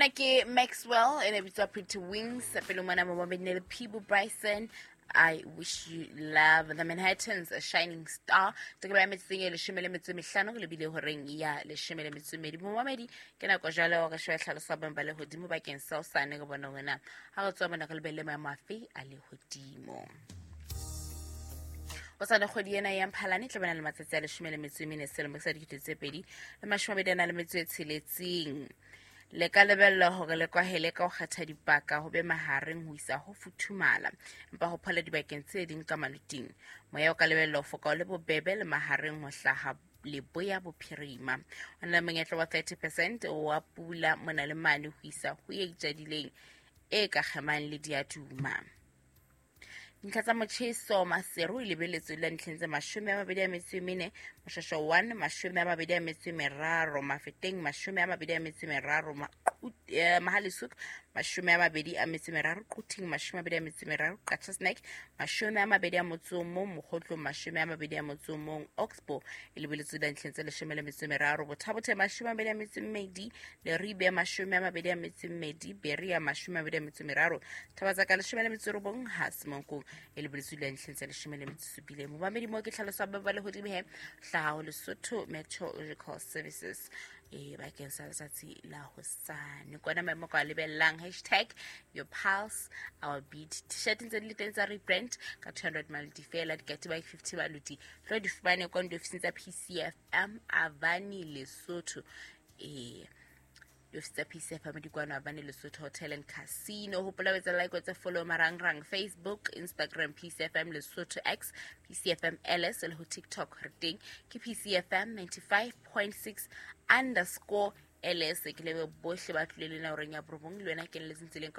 Ena ke Maxwell e ne bitswa Pretty Wings. Pele mona mo babedi le Peebo Bryson, I Wish You Love. The Manhattans, A Shining Star. Tokelo ya metseng e 15 go lebile horeng ya 12. Momamedi, ke nako jwale hore shwe tlhalosa boemo ba lehodimo bakeng sa hosane, re bone hore na ha re tswa mona re lebelle maemo afe a lehodimo. Hosane kgwedi ena ya Mphalane tla bana le matsatsi a 14 selemo sa 2026. Le ka lebella hore le kwahele ka ho kgetha dipaka ho be mahareng ho isa ho futhumala, empa ho phola dibakeng tse ding ka maluting. Moya o ka lebella ho foka o le bobebe le mahareng ho hlaha leboya bophirima. Ho na le monyetla wa 30% wa pula mona le mane ho isa ho e itjadileng e ka kgemang le diaduma. Dintlha tsa motjheso: Maseru e lebeletswe la ntlheng tse 24, Moshasho 1 23, Mafeteng 23, Mohale'shoek 23, Quthing 23, Qacha's Nek 21, Mokhotlong 21, Oxbow e lebeletswe la ntlheng tse 13, Botha-Bothe 22, Leribe 22, Berea 23, Thabatsaka 19, ha Semonkong e lebeletswe la ntlheng tse 17. Momamedi, mo ke tlhalosa ba ba lehodimo he hlaha ho Lesotho Meteorological Services e bakeng sa letsatsi la hosane. Kona maemo ka lebellang. #YourPulseOurBeat. T-shirt ntse di le teng tsa rebrand ka 200 maluti fela, dikatiba 50 maluti. Tlo di fumane kwa diofising tsa PCFM Avani Lesotho. Ee, diofisi tsa PCFM di kwano Avani Lesotho Hotel and Casino. Hopola o etsa like, o etse follow marangrang: Facebook, Instagram PCFM Lesotho, X PCFM LS, le ho TikTok re teng ke PCFM 95.6_LS. Ke lebe bohle ba tlile le na horeng ya 9 le wena ke leletseng tseleng.